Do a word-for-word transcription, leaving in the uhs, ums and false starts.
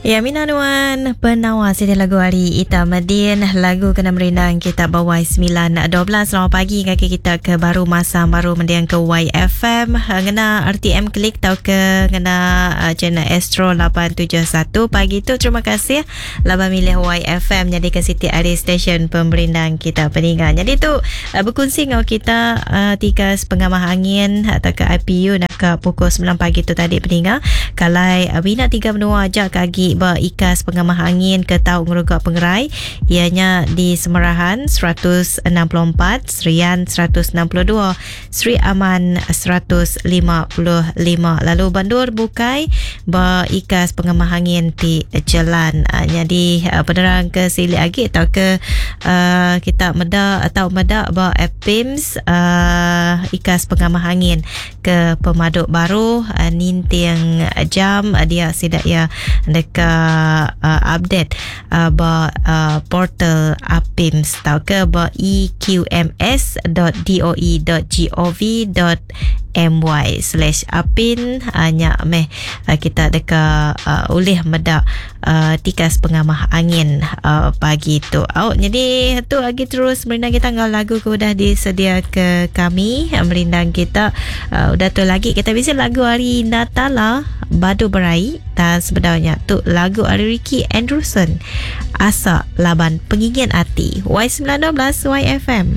Ya, Mina Nuan Penawa sini lagu hari Ita Medin lagu kena merindang kita bawai sembilan dua belas. Selamat pagi kaki kita ke baru masa baru mendiang ke Y F M ngena R T M klik tau ke ngena uh, channel Astro lapan tujuh satu pagi tu. Terima kasih laba milih Y F M jadi ke Siti Ari Station pemerindang kita peningan. Jadi tu uh, berkongsi ngau kita uh, tiga pengamah angin atau ke I P U nak ke pukul sembilan pagi tu tadi peningan. Kalau uh, bina tiga menua aja kagi berikas pengamah angin ke tau ngerugak pengerai ianya di Semerahan seratus enam puluh empat, Serian seratus enam puluh dua, Sri Aman seratus lima puluh lima. Lalu Bandur Bukai berikas pengamah angin di jalan. Uh, jadi uh, penerang ke silik lagi atau ke uh, kita meda atau meda ba A P I M S uh, ikas pengamah angin ke pemaduk baru uh, ninting jam uh, dia sidak ya dekat Uh, update uh, ba uh, portal A P I M S atau ke ba e q m s dot d o e dot g o v dot m y slash apin hanya uh, meh uh, kita deka uh, ulih medak uh, tikas pengamah angin uh, pagi tu. Oh, jadi tu lagi terus merindang kita ngau lagu ke udah disedia ke kami merindang kita uh, udah tu lagi kita bisa lagu hari Natala Badu Berai dan sebenarnya tu lagu hari Ricky Anderson Asa Laban Pengingin Ati. Y sembilan dua belas Y F M.